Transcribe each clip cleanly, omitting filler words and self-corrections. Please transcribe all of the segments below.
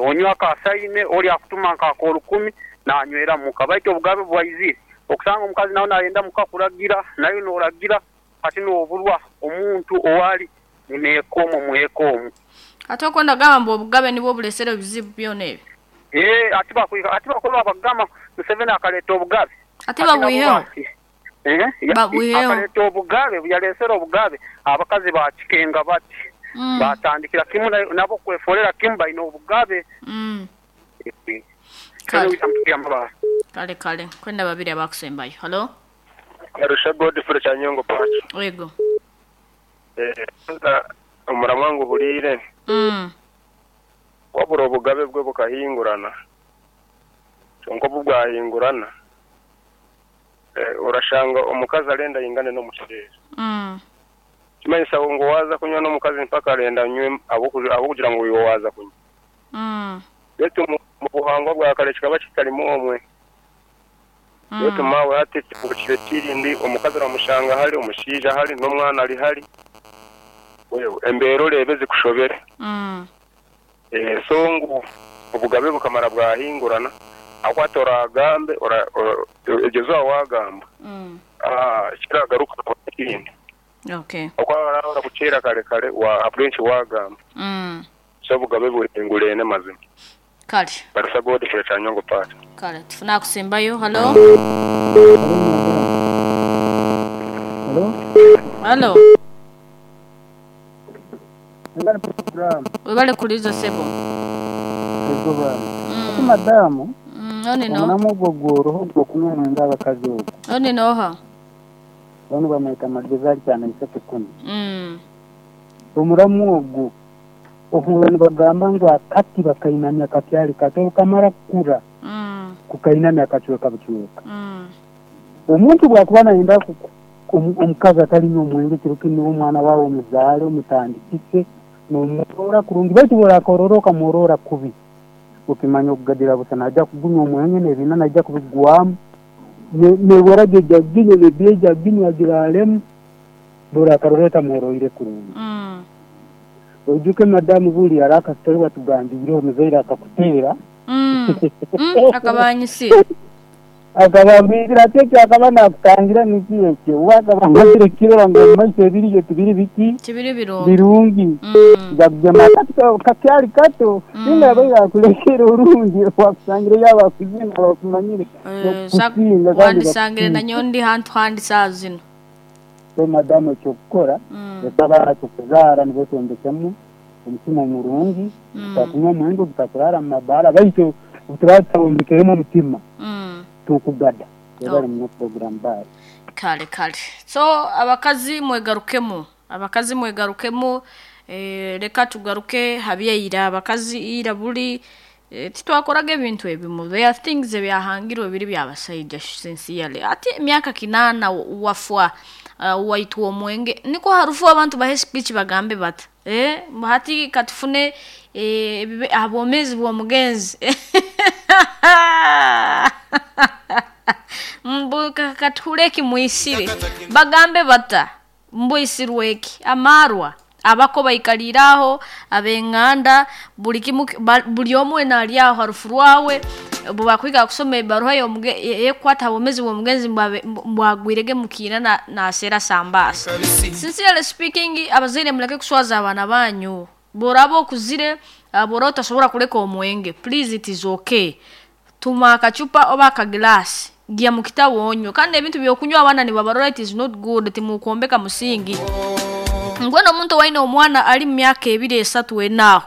Onywa aka sayine, ori akutuma nk'akorukumi nanywera muka. Baitu obugabe bwaizire, okusanga omukazi nawe nayenda muka kuragira, naiwe noragira, hati noburwa omuntu owali nyineeka omwe mweka omwo. Hati okwenda kugamba mbu obugabe nibwo buresire ebizibu byona ebi? Eeh hati hati bakoba bagamba Museveni akaleta obugabe. Hati babwiheho? Babwiheho. Akaleta obugabe, obu yaresere obugabe, abakazi bakikenga bati, batandikira kimu nabo kweforera kimu baine obugabe. Kale. Kale kale. Kwenda babiri abakusembayo. Halo? Arusha Godfrey Kyanyongo Pacho. Yego. Kwanza omuramwa nguhuriire. Wabura obugabe bwe bukahingurana. Kyonka obu bwahingurana, orashanga omukazi arenda aingane n'omushaija. Ekimanyisa ngu waaza kunywa n'omukazi mpaka arenda anywe ahabw'okugira ngu iwe waaza kunywa. Beitu omu buhangwa bwa kare kikaba kitarimu omwe. Beitu maawe hati kihindukire ekindi, omukazi oramushanga hari, omushaija hari, n'omwana ari hari. Embeera oreebe zikushobere. So ngu obugabe bukamara bwahingurana, ahabw'okuba hati oraagambe, eryo izooba waagamba, ekiragarukaho n'ekindi. Ahabw'okuba baraba barakucwera kare kare ahabw'enki waagamba. So obugabe buhinguraine mazima. Kale. Barisa Godfrey Kyanyongo Part. Kale tufune akusembayo. Halo? Halo? Webale kuliza sebo. Madamu, Oni no? omulamwa ogwo gworoho ogw'okunywa omwenge abakazi ogwo. Oni noha? Banu bamweta Magezi ali Kyanaisatu kunu. Omulamwa ogwo ohurra nibagamba ngu akati bakainamya kakyali kato obu kamara kukura kukainamya kacweka bucweka. Omuntu bwakuba nayenda omukazi atalinywa omwenge kiro kinu niwe omwana waawe omuzaale omutandikise nomworora kurungi baitu bworakorora okamworora kubi okimanya okugadira busa naija kugunywa omwenge n'ebiina naija kubigwamu n'ewaragi eija kuginywa n'ebiya eija kuginywa agiraremu bworakarora otamworoire kurungi. Oijuke madamu buri hariho akasitore watugambiire omuzaire akakuteera. Akaba anyisire. Akaba amwizire ati ekyo akaba nakutangira niki ekyo we akaba amazire kukirora ngu omu maiso ebiriyo tibiri biki? Tibiri birungi. Birungi. Yakugema akati kakyari kato ninga yabaire akulekere orungi wakusangire yaaba akuzire naaba akumanyire nokukusinga kandi Wandisangire bakusinga. nanyowe ndi hantu handi saaha zinu. So madamu ekyokukora leka abaana tukuzaara nibo twombekemu omutima murungi obutakunywa omwenge obutakurara omu mabaara baitu obuturaba tutabombekiremu omutima tukugada. Webale muno program bye. Kale kale. So abakazi mwegarukemu. Abakazi mwegarukemu leka tugaruke ha byaira. Abakazi ira buri titwakoraga ebintu ebimu. There are things ebyahangirwe biri byabasaija sincerely. Ati emyaka kinaana wafwa waitwa omwenge nikwo harufu abantu bahe speech bagambe bata hati katufune aha bwomeezi bw'omugenzi mbu katuhure eki mwisire bagambe bata mbwisirwe eki amarwa abako baikaliire aho ab'enganda buri kimu buri omwe nari aho harufu rwawe bwakwika kusoma ebaruha y'okukwata aha bwomeezi bw'omugenzi mbwagwirege mukiina naseera sambaasa. Sincerely speaking abazaire muleke kuswaza abaana banyu. Bworaba okuzire bworaba otasobora kureka omwenge please it is okay. Tuma akacupa oba akagirasi gya mu kitabu onywe kandi ebintu by'okunywa abaana nibabarora it is not good timukwombeka musingi. Mbwenu omuntu owaine omwana ari mu myaka ebiri esatu ena aho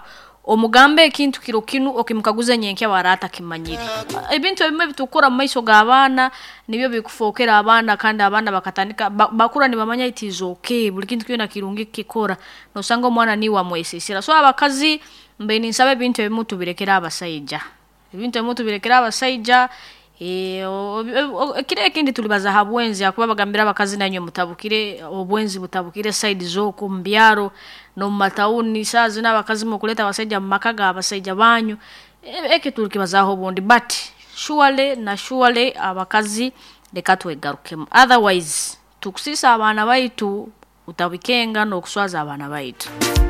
omugambe ekintu kiro kinu okimukaguza nyenkya bwara atakimanyire. Ebintu ebimwe ebitukukora omu maiso g'abaana nibyo bikufookera abaana kandi abaana bakatandika bakura nibamanya it is okay buri kintu kyona kirungi kukikora nosanga omwana niiwe wamwesiisira. So abakazi mbaire ninsaba ebintu ebimu tubirekere abasaija. Ebintu ebimu tubirekere abasaija ekiro ekindi turibaza aha bwenzi ahakuba bagambire abakazi nainywe mutabukire obwenzi butabukire sayidi z'oku omu byaro n'omu matawuni saaha zinu abakazi mukureeta abasaija omu maka g'abasaija banyu ekyo turikibazaaho obundi but surely na surely abakazi reka twegarukemu otherwise tukusiisa abaana baitu utabikenga n'okuswaza abaana baitu.